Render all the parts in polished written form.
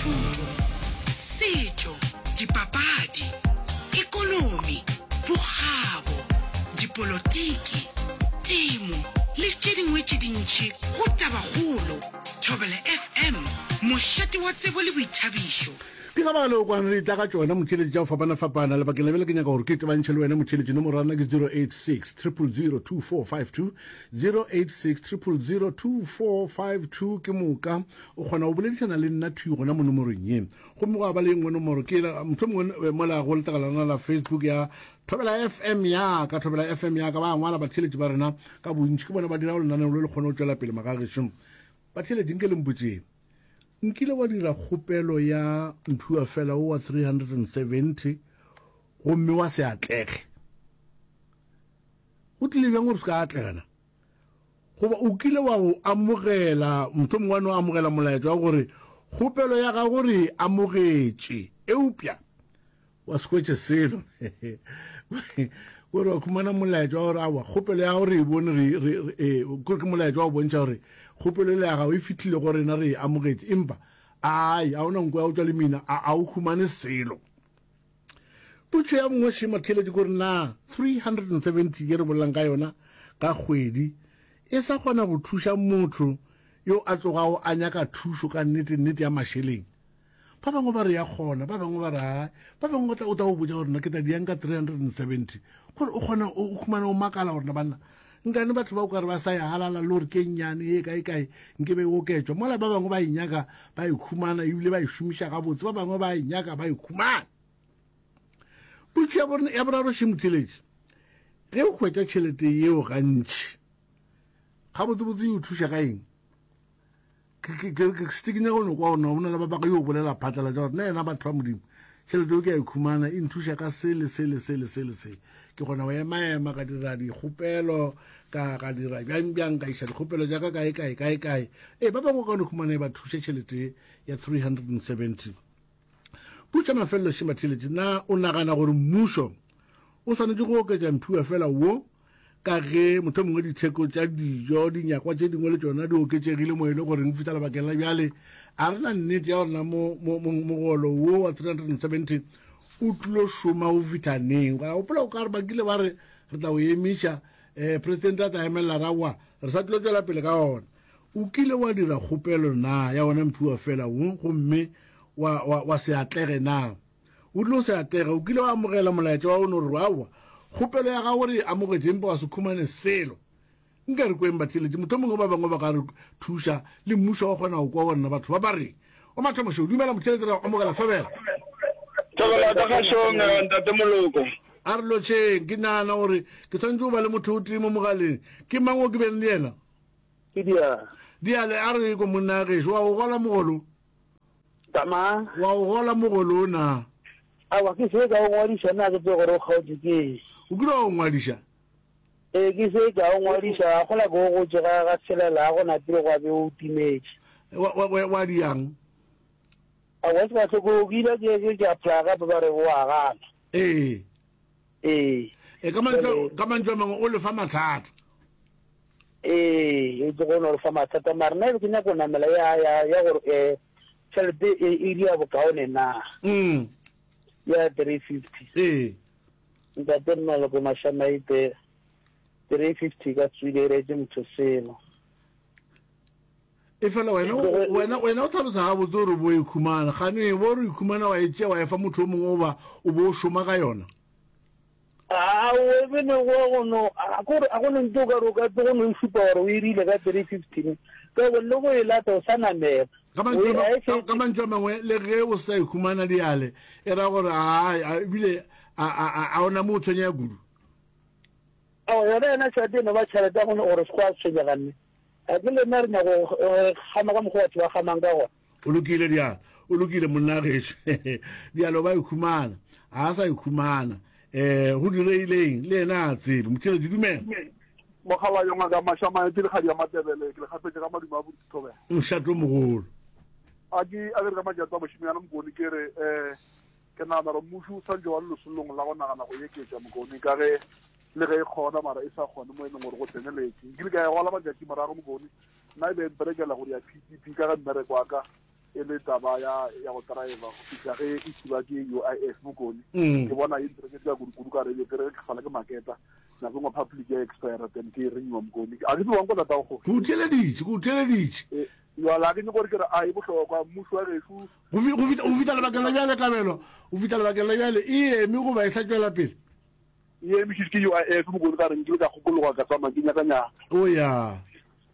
Thuto, setšo, dipapadi, ekonomi, bokgabo, dipolotiki, temo le tše dingwe tše dintši go Tabakgolo, Thobela FM, mošate wa tsebo le boithabišo. Ke ka baka leo kwano re etla ka tšona motheeletši tša go fapana-fapana. Lebakeng la bjale ke nyaka gore ke tebantšhe le wena motheeletši. Nomoro ya rena ke 086 000 2452, 086 000 2452. Ke moka o kgona go boledišana le nna thwi gona mo nomorong ye. Gomme gwa ba le ye nngwe nomoro ke yela mohlomongwe eh, mola go letlakala lona la Facebook ya Thobela FM ya ka, Thobela FM ya ka ba ngwala batheeletši ba rena ka bontši, ke bona ba dirago lenaneo le le kgone go tšwela pele magagešo. Batheeletši nke le mpotšeng. Nkile wa dira kgopelo ya mphiwafela wo wa 370 gomme wa se atlege. Go tlile bjang gore se ka atlega na? Goba o kile wa go amogela, mohlomongwe wa no amogela molaetša wa gore kgopelo ya gago re e amogetše, eupša wa se hwetše selo. Gore wa khumana molaetša wa gore aowa, kgopelo ya gago re e bone, re, re, re, eh, kore ke molaetša wa go bontšha gore kgopelo ele ya gago e fihlile go rena, re e amogetše, empa ai, a ona nko ya go tšwa lemina, a, a o khumane selo. Potšo ya bongwe šema theeletše ke gore na 370 ye re bolelang ka yona ka kgwedi e sa kgona go thuša motho yo a tlogago a nyaka thušo ka nnete nnete ya mašeleng? Ba bangwe ba re ya kgona, ba bangwe ba re hai. Ba bangwe ba tla o tla go botša gore nna ke tla diang ka 370. Gore o kgona o khumana o makala gore na banna nkane batho ba o kare ba sa ya halala le gore ke nnyane ye kae kae nke be e oketšwa. Mola ba bangwe ba e nyaka ba e khumana ebile ba e šomiša gabotse, ba bangwe ba e nyaka ba e khumana. Potšo ya borena ya boraro še motheletši, ge o hwetša tšhelete yeo gantši gabotsebotse e o thuša ka eng? Ke, ke, ke, ke nyaka go no kwa gore na go na le ba ba yo bolela phatlalatša gore na yena batho ba Modimo, tšhelete eo ke a e khumana e nthuša ka se le se le se le se le se. Ke kgona go ema-ema ka dira dikgopelo, ka, ka dira bjang bjang, ka iša dikgopelo tša ka kae kae kae kae. Ee, ba bangwe ka no khumana e ba thuše tšhelete ya 370. Putša mafelelo šema tšhelete, na o nagana gore mmušo o swanetše go oketša mphiwa fela wo ka ge mohlomongwe ditheko tša dijo, dinyakwa tše dingwe le tšona di oketšegile mo e le goreng fihla lebakeng la bjale a re na nnete ya gore na mogolo wo wa 370 o tlilo šoma go fihla neng. Ka gopola o ka re ba kile ba re re tla o emiša, um presidente a tla emelela ra wa re sa tlilo tšwela pele ka ona. O kile wa dira kgopelo na ya ona mphiwa fela wo gomme wa, wa, wa se atlege na? O rile o se atlege, o kile wa amogela molaetša wa o no re aowa, kgopelo ya gago re e amogetše empa wa se khumane selo. Nka re kweng batheeletši, mohlomongwe ba bangwe ba ka re thuša le mmušo wa kgona go kwa gore na batho ba ba reng. O mathomo šo, dumela motheeletši re amogela thobela. Thobela ka gašong eh, ntate Moloko. A re lotšheng, ke nagana gore ke swanetše go ba le motho o tee mo mogaleng. Ke mang o ke beng le yena? Ke Diale. Diale, a re ko monna gešo, wa go gola mogolo? Tama. Wa o gola mogolo o na? Aowa, ke se ka o ngwadiša, na ke tsebe gore o kgaotšwe ke eng. O kile wa o ngwadiša? Ee, ke se ka o ngwadiša, ga gola ke o gotše ga ga tshelela, ga go napile gwa be o timetše. Wa, wa, wa, wa diang? Aowa, se ka hloko, ke ile ke, ke, ke apply gape ba re o a gana. Ee. Ee. E, ka mantšu, ka mantšu a mangwe o lefa mathata. Ee, e tlogo no re fa mathata mara nna e be ke nyaka go namela ya ya ya gore eh tšhelete e e dia bokaone na. Mm. Ya 350. Ee. Ntate Mmaloko Mashamaite 350 ka tswile e reetse motho selo. E fela wena wena wena o tlhalosa gabotse gore bo e khumana gane bo re ikhumana wa e tšea wa e fa motho o mongwe o ba o bo o šoma ka yona. A o ebe ne go go no a go a go no ntse o ka re o ka tlo go no e šupa gore o e rile ka 315 ka go le go e lata o sa namela. Ka mantšu a ma- ka mantšu a mangwe le ge o sa ikhumana diale e ra gore a ebile a a a ona mo o tshwenyega kudu. Ao yona yona tšhelete e no ba tšhelete ya go no gore se kwa tshwenyega nne. A ke le nna re nyaka go gama ka mokgwa batho ba gamang ka gona. O lokile dialo, o lokile monna gešo. Dialo ba ikhumana, a sa ikhumana. Eh, go direileng le yena a tsebe. Motheletši dumela. Mogala yo ngaka Mashamae ke lekgadi ya Matebele ke le gafetše ka madume a bothobela. Mošato mogolo. A ke a ke re ka majatso a mošemyana Mokone ke re eh ke nagana gore mmušo o santse wa le lesolong la go nagana go eketša Mokone ka ge le ge e kgona mara e sa kgone mo e leng gore go tseneletše. Nkile ka e gola matšatši morago Mokone nna e be e mperekela go ya PTP ka ge mmereko wa ka. E le taba ya ya go driver go fihla ge e thiba ke UIF Bokone. Mm. Ke bona e ntireketse ka kudu-kudu ka re ke re ke sala ke maketa nako engwe public ya expire then ke e renewa Mokone. A ke tsebe wa nkwa tatago kgoši. Ke o theeleditše, ke o theeleditše. E, jwale a ke nyako gore ke re a e bohlokwa mmušo wa gešo Go fi- go fihla go fihla lebakeng la bjale Kabelo, go fihla lebakeng la bjale e eme goba e sa tšwela pele? E emišitšwe ke UIF Mokone ka re nkile ka kgokologa ka tsamaya ke nyakanyaka. O ya.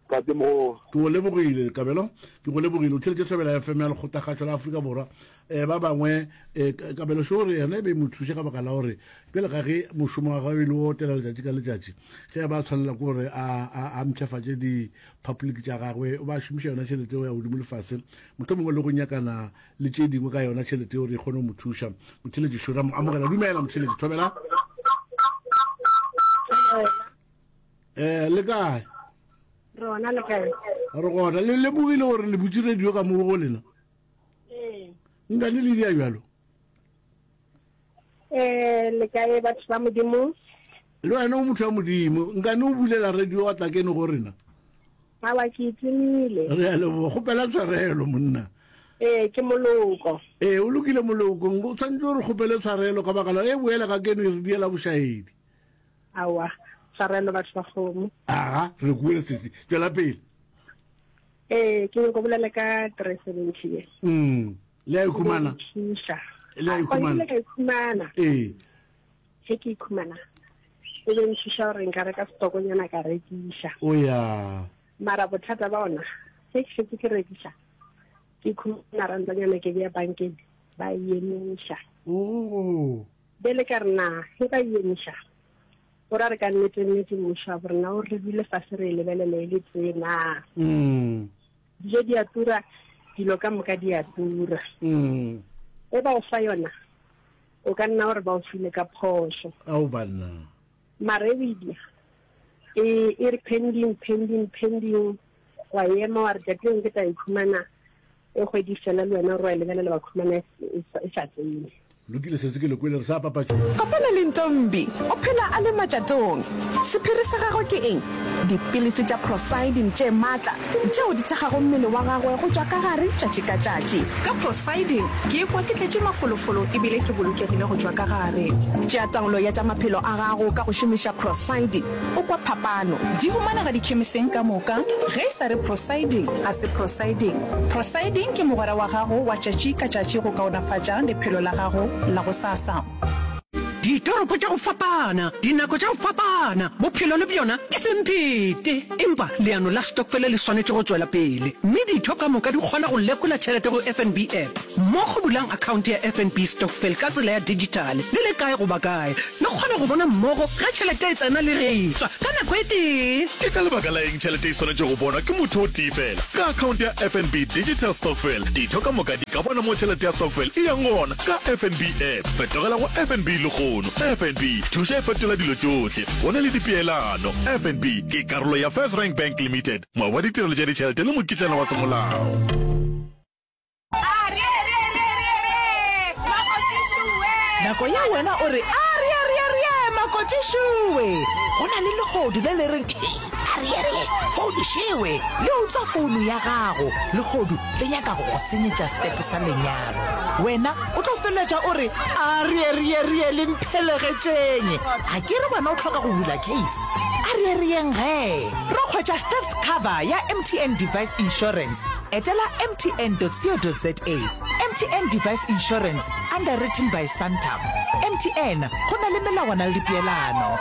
Tate mogolo. Ke go lebogile, Kabelo. Ke go lebogile. O theletše Thobela FM ya Lekgotlakgašo la Afrika Borwa. Um ba bangwe um Kabelo šo gore yena e be e mo thuše ka baka la gore bjale ka ge mošomo wa gagwe e le o otela letšatši ka letšatši, ge a ba tshwanela ke gore a, a, a mpshafatše di-public tša gagwe, o ba šomiša yona tšhelete go ya godimo le fase, mohlomongwe le go nyakana le tše dingwe ka yona tšhelete gore e kgone go mo thuša. Motheletši šo ra mo amogela. Dumela motheletši, Thobela. Eh, le kae? Re gona le kae? Re gona. Le lemogile gore le butše radio ka mo go lena? Ee. Nkane le dia bjalo? Eh, le kae batho ba Modimo? Le wena o motho wa Modimo. Nkane o bulela radio wa tla kene go rena? Awa ke itimile. Re a leboga. Kgopela tshwarelo monna. Ee, ke moloko. Ee, o lokile moloko. O tshwanetse gore kgopele tshwarelo ka baka la e boela ka keno e re diela bošaedi. Aowa, tshwarelo batho ba kgomo. Aga, re kwele sesi. Tšwela pele. Ee, ke nyako bolela ka 370 ye. Mm. Le a ikhumana? Thuša. Le a ikhumana? Ka ikhumana. Ee. Ge ke ikhumana, e be nthuša gore nka reka stokonyana ka rekiša. O ya. Mara bothata ba ona, ge ke šetše ke rekiša, ke ikhumana rantanyana ke bea bankeng, ba e emiša. Oh. Bjale ka re, Na ge ba e emiša, go ra re ka nnete-nnete mmušo wa borena o re dule fase re e lebelele e le tee na? Dijo di a tura, dilo ka moka di a tura. Ge ba o fa yona, o ka nna gore ba o file ka phošo. Ao banna. Mara e o e dira, e, e re pending, pending, pending, wa ema wa re tšatši lengwe ke tla e khumana. E kgwedi fela le wena o re wa e lebelela wa khumana e, e, e sa tsene. Lokile sesi ke le kwele re sa papatšo. Kopana le Ntombi, o phela a le matšatong. Sephiri sa gagwe ke eng? Dipilisi tša Procyldin tše matla tšeo di thekgago mmele wa gagwe go tšwa ka gare tšatši ka tšatši. Ka Procyldin, ke ikwa ke tletše mafolofolo e bile ke bolokegile go tšwa ka gare. Tšea taolo ya tša maphelo a gago ka go šomiša Procyldin. O kwa phapano. Di humanega dikhemiseng ka moka. Ge e sa re Prosiding, ga se Prosiding. Prosiding ke mogwera wa gago wa tšatši ka tšatši go kaonafatša lephelo la gago la gosasa. Ditoropo tša go fapana, dinako tša go fapana, bophelo le bjona ke semphete. Empa leano la stokfele le swanetše go tšwela pele, mme ditho ka moka di kgona go lekola tšhelete go FNB app. Mmogo bulang akhaonte ya FNB Stokvel ka tsela ya dijithale le le kae goba kae. Le kgona go bona mmogo ge tšhelete e tsena le ge e tšwa ka nako e tee. Ke ka lebaka la eng tšhelete e swanetše go bonwa ke motho o tee fela? Ka akhaonte ya FNB Digital Stokvel, ditho ka moka di ka bona mo tšhelete ya stokvel e yang gona ka FNB app. Fetogela go FNB lehono. FNB, thuša e fetola dilo tšohle. Go na le dipeelano. FNB ke karolo ya FirstRand Bank Limited, moabi wa ditirelo tša ditšhelete le mokitlana wa semolao. Nako ya wena o re, Arieariearie, makotšišowe! Go na le lehodu le le reng, Ariearie, founišewe! Le utswa founu ya gago. Lehodu le nyaka go go senyetša setepe sa lenyalo. Wena o tlo feleletša o re, Arieariearie, le mphelegetšeng! A ke re wena o hloka go bula case? Ariearieng gee! Ro hwetša theft cover ya MTN Device Insurance. Etela mtn.co.za. MTN Device Insurance, underwritten by Santam. MTN, go na le melawana le dipeelano.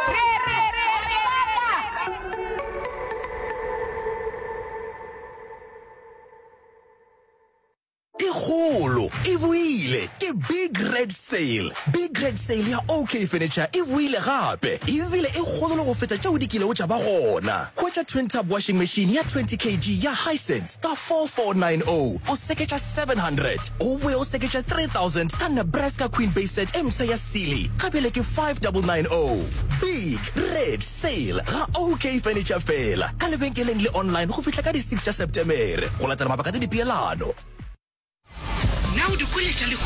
E kgolo e boile ke Big Red Sale. Big Red Sale ya OK Furniture e boile gape ebile e kgolo le go feta tšeo di kilego tša ba gona. Hwetša twin tub washing machine ya 20 kg ya Hisense ka 4490 o seketša 700, o boe o seketša 3000 ka Nebraska Queen Base Set e mpsha ya Sealy ga bjale ke 5990. Big Red Sale ga OK Furniture fela ka lebenkeleng le online go fihla ka di 6 tša Setemere go latela mabaka le dipeelano. Na o di kwele tša lehono?